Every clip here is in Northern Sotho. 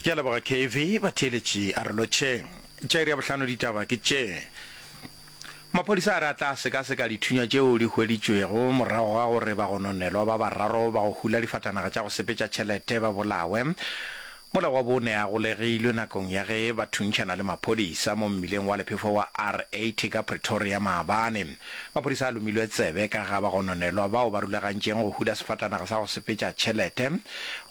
Ke a leboga KV, batheeletši a re lotšheng. Tša iri ya bohlano ditaba ke tše. Maphodisa a re a tla sekaseka dithunya tšeo di hweditšwego morago ga gore bagononelwa ba bararo ba go hula difatanaga tša go sepetša tšhelete ba bolawe mola wa bone a golegilwe nakong ya ge ba thuntšhana le maphodisa mo mmileng wa lephefo wa R80 ka Pretoria maabane. Maphodisa a lomilwe tsebe ka ga bagononelwa bao ba rulagantšeng go hula sefatanaga sa go sepetša tšhelete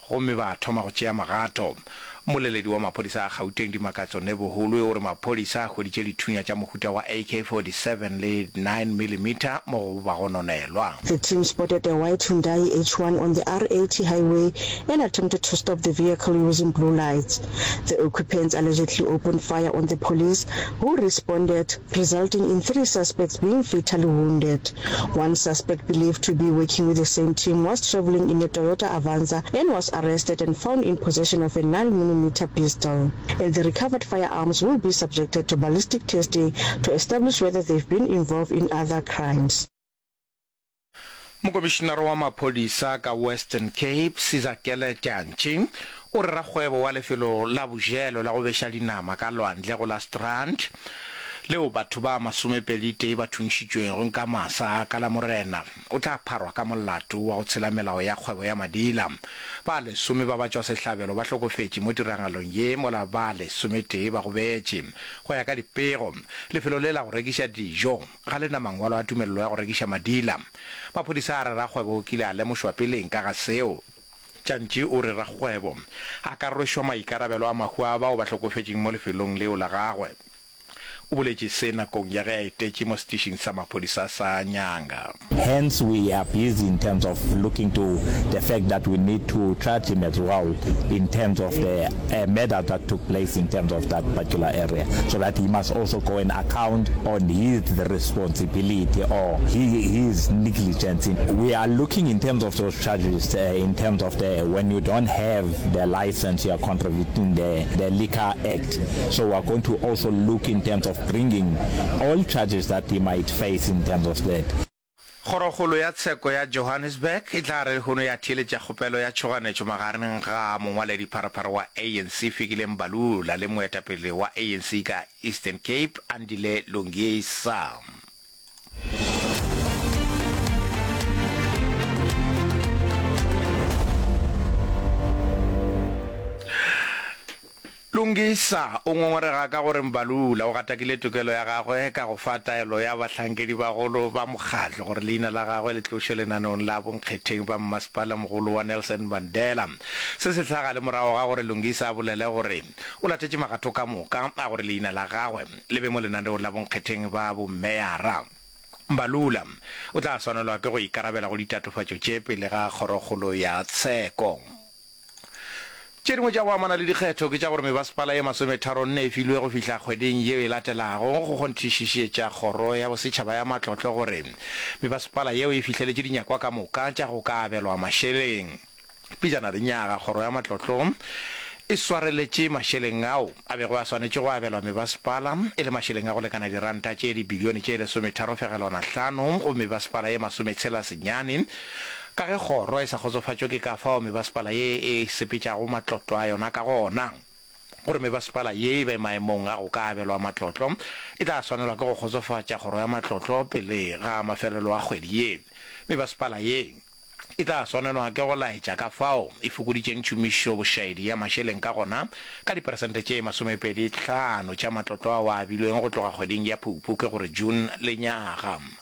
gomme ba thoma go tšea magato. Mmoleledi wa maphodisa a Gauteng Dimakatso Nebuhulwe o re maphodisa a hweditše dithunya tša mohuta wa AK-47 le nine millimeter mo go bagononelwa. The team spotted a white Hyundai H1 on the R80 highway and attempted to stop the vehicle using blue lights. The occupants allegedly opened fire on the police, who responded, resulting in three suspects being fatally wounded. One suspect believed to be working with the same team was traveling in a Toyota Avanza and was arrested and found in possession of a 9mm pistol. And the recovered firearms will be subjected to ballistic testing to establish whether they've been involved in other crimes. Mokomišinara wa maphodisa ka Western Cape, Sizakele Dyantyi, o re rakgwebo wa lefelo la bojelo la go beša dinama ka lwandle go la Strand, leo batho ba masomepeditee ba thuntšhitšwego ka masa ka Lamorena, o tla pharwa ka molato wa go tshela melao ya kgwebo ya madila. Ba lesome ba batšwasehlabelo ba hlokofetše mo tiragalong ye mola ba lesometee ba gobetše. Go ya ka dipego, lefelo le la go rekiša dijo ga le na mangwalo a tumelelo ya go rekiša madila. Maphodisa a re rakgwebo o kile a lemošwa peleng ka ga seo. Tšantši o re rakgwebo a ka rwešwa maikarabelo a mahu a bao ba hlokofetšeng mo lefelong leo la gagwe. O boletše se nakong ya ge a etetše mo setišing sa maphodisa sa Nyanga. Hence we are busy in terms of looking to the fact that we need to charge him as well in terms of the murder that took place in terms of that particular area so that he must also go and account on his responsibility or his negligence. We are looking in terms of those charges in terms of the when you don't have the license you are contravening the, the Liquor Act. So we are going to also look in terms of bringing all charges that he might face in terms of that. Kgorokgolo ya Tsheko ya Johannesburg e tla re lehono ya theeletša kgopelo ya tšhoganetšo magareng ga mongwaledipharephare wa ANC Fikile Mbalula le moetapele wa ANC ka Eastern Cape Andile Lungisa. Lungisa o ngongorega ka gore Mbalula o gatakile tokelo ya gagwe ka go fa taelo ya bahlankedibagolo ba mokgatlo gore leina la gagwe le tlošwe lenaneong la bonkgetheng ba mmasepala mogolo wa Nelson Mandela. Se se hlaga le morago ga gore Lungisa a bolele gore o latetše magato ka moka a gore leina la gagwe le be mo lenaneong la bonkgetheng ba bommeyara. Mbalula o tla swanelwa ke go ikarabela go ditatofatšo tše pele ga Kgorokgolo ya Tsheko. Tše dingwe tša go amana le dikgetho ke tša gore mebasepala ye masometharonne e filwe go fihla kgweding yeo e latelago go kgonthišišetša Kgoro ya Bosetšhaba ya Matlotlo gore mebasepala yeo e fihleletše dinyakwa ka moka tša go ka abelwa mašeleng. Pejana lenyaga, Kgoro ya Matlotlo e swareletše mašeleng ao a bego a swanetše go abelwa mebasepala e le mašeleng a go lekana diranta tše dibilione tše lesometharo fegelwana hlano go mebasepala ye masometshela senyane Ka ge kgoro e sa kgotsofatšwe ke ka fao mebasepala ye e sepetšago matlotlo a yona ka gona, gore mebasepala ye e be maemong a go ka abelwa matlotlo, e tla swanelwa ke go kgotsofatša kgoro ya matlotlo pele ga mafelelo a kgwedi ye. Mebasepala ye e tla swanelwa ke go laetša ka fao e fokoditšeng tšhomišobošaedi ya mašeleng ka gona ka diperesente tše 25 tša matlotlo ao a abilweng go tloga kgweding ya Phuphu, ke gore June, lenyaga.